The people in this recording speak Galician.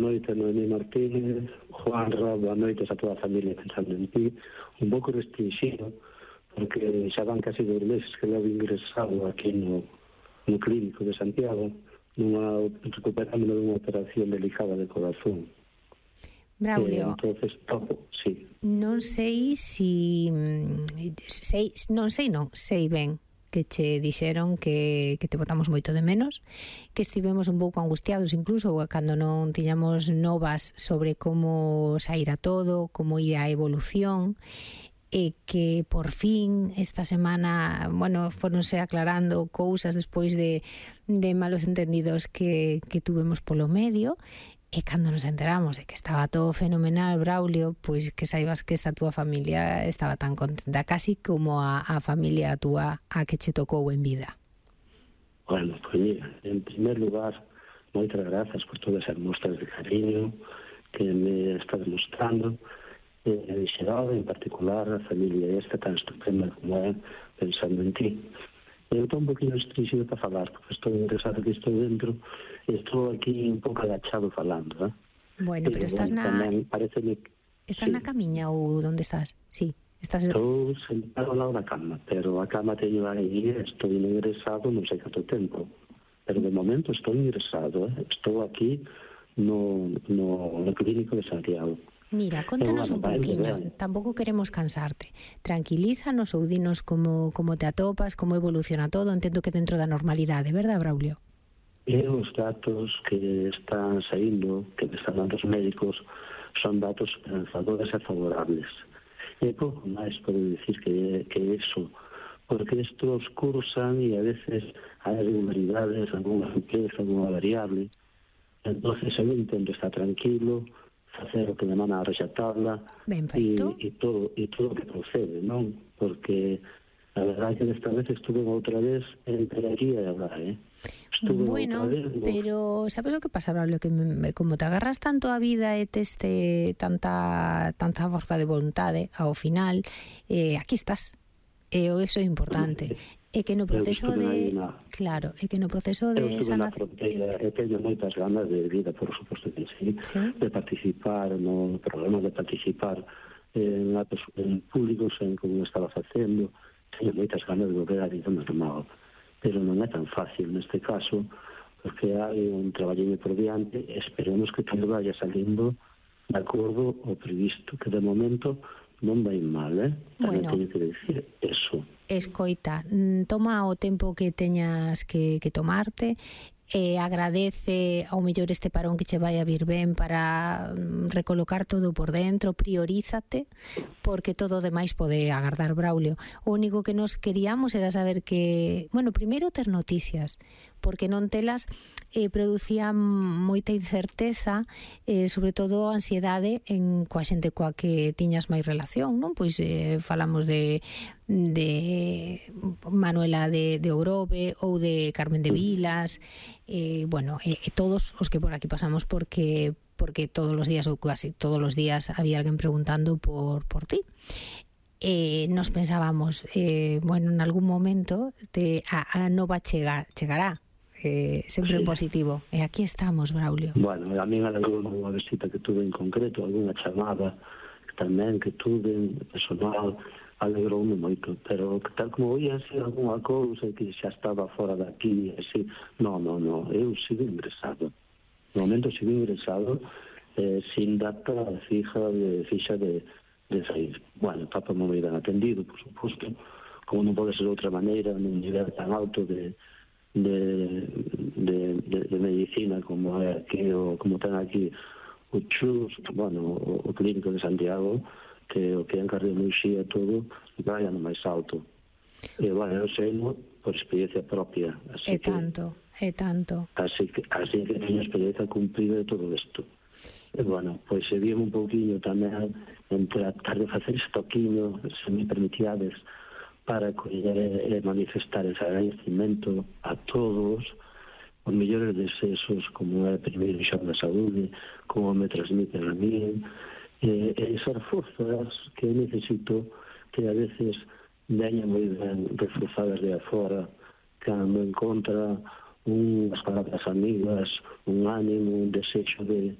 Noite, Noemí Martínez, Juanra, boa noite a toda a familia pensando en ti. Un pouco restringido, porque xa van casi 2 meses que levo ingresado aquí no clínico de Santiago, recuperando dunha operación delicada de corazón. Braulio, Entonces, sí. Non sei sei ben que che dixeron que te botamos moito de menos, que estivemos un pouco angustiados incluso cando non tiñamos novas sobre como saíra todo, como ia a evolución, e que por fin esta semana, foronse aclarando cousas despois de malos entendidos que tuvemos polo medio. E cando nos enteramos de que estaba todo fenomenal, Braulio, pois que saibas que esta túa familia estaba tan contenta, casi como a familia túa a que che tocou en vida. Bueno, pois mira, en primer lugar, moitas grazas por todas as mostras de cariño que me estás mostrando, en xeral, en particular, a familia esta tan estupenda como é, pensando en ti. Eu estou un poquinho restringido para falar, porque estou ingresado que estou dentro e estou aquí un pouco agachado falando, eh? Bueno, pero estás na camiña ou onde estás? Sí, estás... Estou sentado ao lado da cama, pero a cama teño aí, estou ingresado non sei canto tempo, pero de momento estou ingresado, estou aquí no clínico de Santiago. Mira, contanos un pouquiño, tampouco queremos cansarte. Tranquilízanos ou dinos como te atopas, como evoluciona todo, entendo que dentro da normalidade, verdad, Braulio? Os datos que están saindo, que me están dando os médicos, son datos esperanzadores e favorables. E pouco máis podo dicir que iso, porque estos cursan e a veces hai irregularidades, alguna simpleza, alguna variable. Entonces eu intento estar tranquilo, facer o que me mana a rexatabla e todo o que procede, non? Porque a verdade que desta vez estuve outra vez entre aquí e agora, Bueno, pero sabes o que pasa, Braulio? Que como te agarras tanto a vida e tes tanta forza de vontade ao final, aquí estás. E iso é importante. É que no proceso de... Claro, é que no proceso de sanación... Eu teño moitas ganas de vida, por suposto que sí, de participar no programa, de participar en actos públicos, en como estaba facendo. Teño moitas ganas de volver a vida normal, pero non é tan fácil neste caso, porque hai un traballiño por diante e esperemos que todo vaya salindo de acordo ao previsto, que de momento non vai mal, Tamén teño que decir eso. Escoita, toma o tempo que teñas que tomarte, agradece ao mellor este parón que che vai a vir ben para recolocar todo por dentro, priorízate, porque todo o demais pode agardar, Braulio. O único que nos queríamos era saber que, primeiro ter noticias, porque non telas producía moita incerteza, sobre todo ansiedade coa xente coa que tiñas máis relación, non? Pois falamos de Manuela de Ogrove ou de Carmen de Vilas, todos os que por aquí pasamos porque todos os días ou casi todos os días había alguén preguntando por ti. Nos pensábamos, en algún momento a nova chegará, sempre en positivo, e aquí estamos, Braulio. Bueno, a mí alegrou unha visita que tuve en concreto, algunha chamada tamén que tuve personal, alegroume moito, pero tal como oía así algunha cousa que xa estaba fora daqui, así, non, eu sigo ingresado. No momento sigo ingresado sin data fixa de sair. Bueno, está moi ben atendido, por suposto, como non pode ser de outra maneira, nun nivel tan alto de medicina como é aquí, como ten aquí o CHUS, o clínico de Santiago, que o que é en cardioloxía todo vai no máis alto. E, eu sei por experiencia propia. É tanto. Así que teño experiencia cumprida de todo isto. E, pois se vime un pouquinho tamén en tratar de facer estoquiño, se me permitiades, para coller e manifestar ese agradecimento a todos os mellores deseos, como é primeiro xa da saúde, como me transmiten a mí, e esas forzas que necesito, que a veces veñen moi ben reforzadas de afora, cando encontra unhas palabras amigas, un ánimo, un desexo de